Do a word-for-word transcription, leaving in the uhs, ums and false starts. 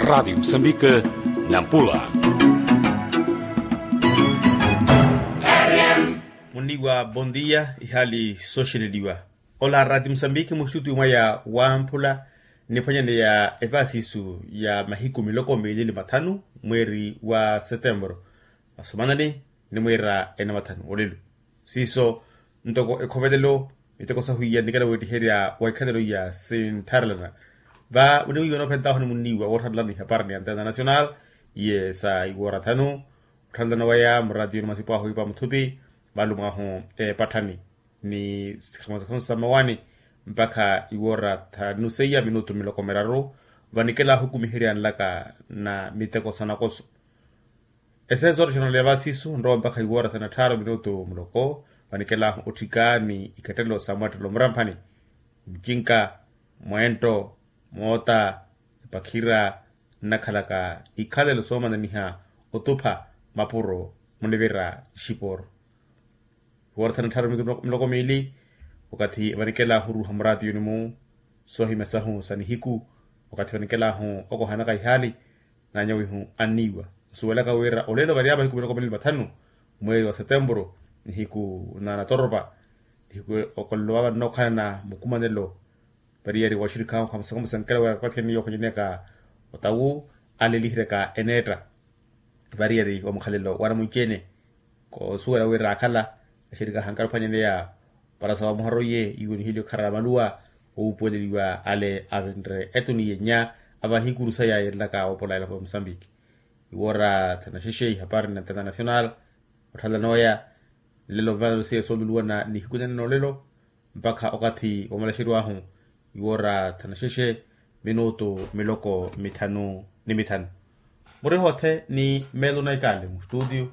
Raatiyo musambike, nampula. Munniwa bondiya ihaali sooxeleliwa. Ola raatiyo musambike muxutuyu mwaya wamphula, niphwanyaneya evaasisu ya mahiku miloko miili ni mathanu, mweeri wa setempuru, masomanani ni mweera ena mathanu olelo. Siiso ntoko ekhovelelo, miteko sahwiya nnikela weettiherya wa ikhalelo iya sinttharelana. Va winiwiiwa noophentaho ni munniiwa woottharelana ihapari ni antena national, iye sa iwoora thanu, ottharelana waya muraatiyoni masipo ahu ipa muthupi, valumo ahu epatthani ni sikhamasakhamu sa mawani mpakha iwoora thanu seiya minutu miloko miraru, vanikela ahu okumiherya nlaka na miteko sa nakoso. Eseezo orixonaleya vaasisu nrowa mpakha iwoora thanu na tthaaru minutu muloko, vanikelahu otthika ni ikettelo sa mwettelo muramphani, mucinka, mweento, moota, epakhira nnakhalaka ikhalelo soomananiha otupha mapuro munivira ixiporo. Iwoora thanu na tthaaru minutu miloko miili, wakathi vanikelahu oruuha muraatiyoni-mu soohimya sahu sa nihiku, wakathi vanikelahu okohanaka ihaali, naanyawihu anniiwa nsuwelaka wira olelo vary'amahiku miloko miili ni mathanu, mweeri wa setempuru, nihiku na natoropa, nihiku okolelo vava nnookhalana mukumanelo. Variyari waxirikhahu khamusankela wira wakathi anniiwa okhonyaneyaka otawu aleliheryaka eneetta. Variyari wa mukhalelo wa namunci-ene, koosuwela wira akhala axirikhahu ankala ophwanyaneya para sa wamuharo iye iwo nihilyo kharala maluwa, owuupuweleliwa ale avinre etuni yenya avaha ikuru saya yeelelaka woopola elapo ya musambiki. Iwoora thanu na xexe ihapari ni antena national, otthalelana waya nlelo nvanelo seiya sooluluwana nihiku nene noolelo, mpakha okathi wamalaxeriwahu iwoora thanu na xexe minutu miloko mithanu ni mithanu. Muriha othe ni meelo na ikaale mustutiyo.